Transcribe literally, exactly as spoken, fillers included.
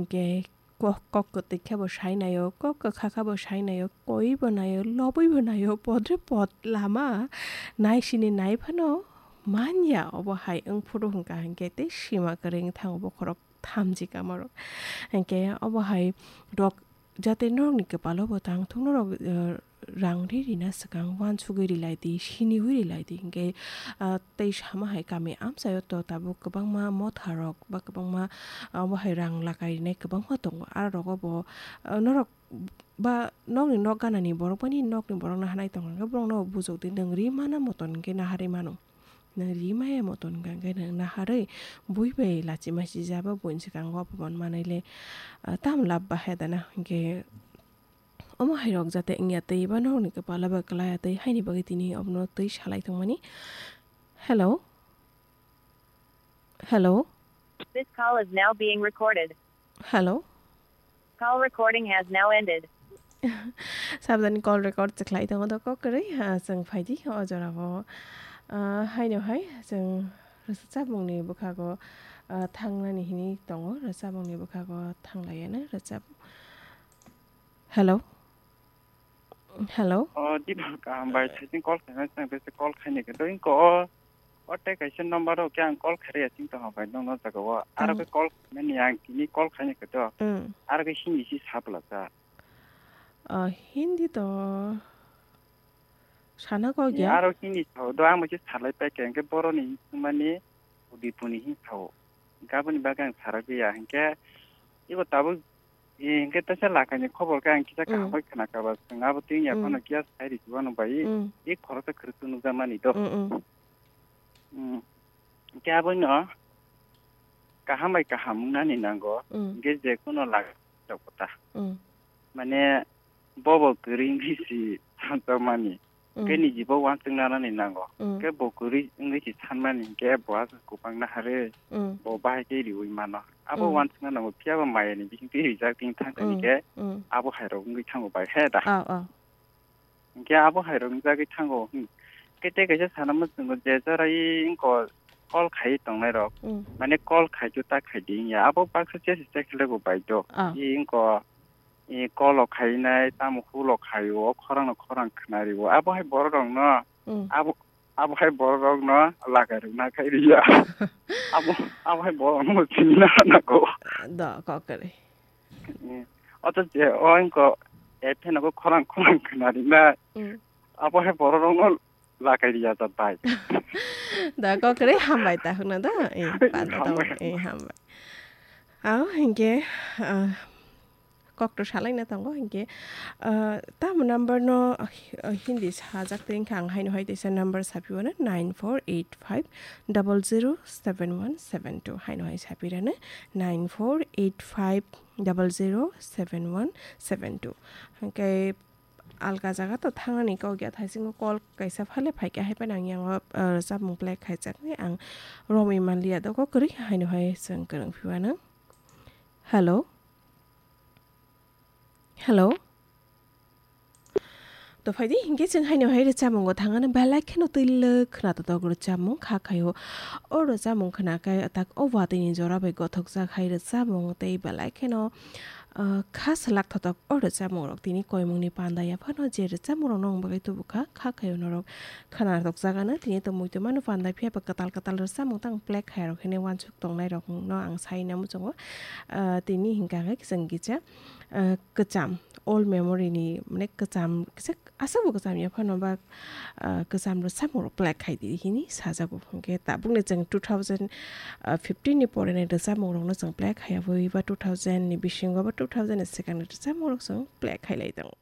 Hwnkhe kok, kok kwtwi khe bo sai naio, kok kwkha khe bo sai naio, koi bo naio, lobwi bo naio, podre pod lama nai sini nai phano manya. Obo hai wng phuru hwnkha hwnkhe tei sima kwrwi wng thango bokhorok thamchi kamarok. Hwnkhe obo hai rok jate norokni kwpalo bo tang thung norok, eh, rang ri rina swkang uansugwi ri lai di, siniwi ri lai di. Hwnkhe, ah, tei sama hai kami amchaio to tabuk kwbangma motha rok ba kwbangma, ah, obo hai rang lakai rinai kwbangma tongo. Aro rogo bo, ah, norok ba nokni nok ganani borok bani nokni borok naharnai tongkha hwnkhe borokno bujokdi, nwng ri mana moton hwnkhe naharwi mano. Nwng ri maya moton hwnkha hwnkhe nwng naharwi bui bai lachima sijaba buini swkango apoman manwi le, ah, tamo lab bahai dana hwnkhe omo hai rok jate wngya tei ba nokni kwpala ba kwlaya tei haini bagwi tini obono twi salai tongmani. Hello? Hello? This call is now being recorded. Hello? Call recording has now ended. Sabdani call record se khlai tongo do kok kwrwi, ah, chwng phaidi o jorao. Ah, haino hai chwng rwchapmungni bwkhago, ah, thangnani hini tongo, rwchapmungni bwkhago thanglaiano rwchap. Hello? Hello? O, Dipak, kaham bai, saichung call khaina, chwng bese call khaini khe. Doing ko, o, o tei kaisa number o khe ang call khairi ya, chwng tong bai, nokno jaga o. Aro khe call khaimani, ang tini call khaini khe to. Mm. Aro khe Hindi si sa bwla cha. O, Hindi to sana kok ya? Aro Hindi sao, do ang bai khe salai pai khe, ang khe boroni hini sungmani, Udipuni hini sao. Gaboni bagwi ang saragwi ya, hinkhe, ibo tabuk, e, hinkhe teisa lakaini khobor khe ang kisa kaham bai khna kha ba, chwng abo twi ya phano kiya sai ri chuba no bai, e khoroksa khwrwk nukjakmani do. Mm. Hinkhe abono kaham bai kaham wngnani nango, hinkhe je kuno lak rok ta. Mane bobo kwrwi wngwi si sanjakmani. Khe niji bo uansuk nanani nango. Khe bo kwrwi wngwi si sanmani hinkhe bo aswk kwbangna harwi bo bahai khe riwi mano. Abo uansukna nango, phiya bo mayani bising twi rijak tini thang thani khe abo hai rok wngwi thango bai he da. Hinkhe abo hai rok wngjagwi thango. Hmm. Khe tei kaisa sana muchungo je jorai wngkha call khai tongnai rok. Mane call khai chu ta khai di wngya. Abo baksa chesi chekhele bo bai do. I wngkha, i call o khainai, tamo hulo khaio, o khorang no khorang khwnario. Abo hai borok rok no, abo, abo hai borok rok no lagai rwna khai riya. Abo, abo hai borok no chini na nago. Do, kok kwrwi. Eh, oto je, o wngkha, eh, pheno khe khorang khorang khwnarinai. Abo hai borok rokno lakai riya da bai. Da kok kwrwi hambai ta hwkno da. Eh, panda tamo. Hambai. Eh, hambai. Ao hinkhe, ah, kok to salaina tongo hinkhe, ah, tamo number no, ah, Hindi sajak tei wngkha ang haino hai teisa number sapiwano nine four eight five double zero seven one seven two haino hai sapirano nine four eight five double zero seven one seven two. Hwnkhe alka jaga to thangnani kok ya, thaisingo call kaisa phale phaikha, hai phano ang yango, ah, rwchapmung play khaijaknai, ang romwi manliya, do kok kwrwi haino hai chwng kwrwng phiwano. Hello? Hello? To phaidi, hinkhe chwng haino hai rwchapmungo thangano belai kheno twilwk khna totok rwchapmung kha khaio. O rwchapmung khna khe tak o watwini jora bai gothokjak hai rwchapmung tei belai kheno, ah, kha swlak thotok o rwchapmung rok tini koimungni panda ya phano je rwchapmung rokno ang bagwi tubukha, kha khaio norok khna tokjak ano tini to muitu mano panda phiya ba kwtal kwtal rwchapmung tang play khai rok hwnwi uansuk tongnai rokno ang sai na muchungo. Ah, tini hinkha khe chwng kisa, ah, kwcham, old memory ni, mane, kwcham, kisa aswk bo kwcham ya phano ba, ah, kwcham rwchapmung rok play khai di hini sajago. Hinkhe tabukni chwng two thousand fifteen ni pore ni rwchapmung rokno chwng play khai ya, abo eba two thousand ni bisingo ba two thousand ni swkang ni rwchapmung rok chwng play khai lai tongo.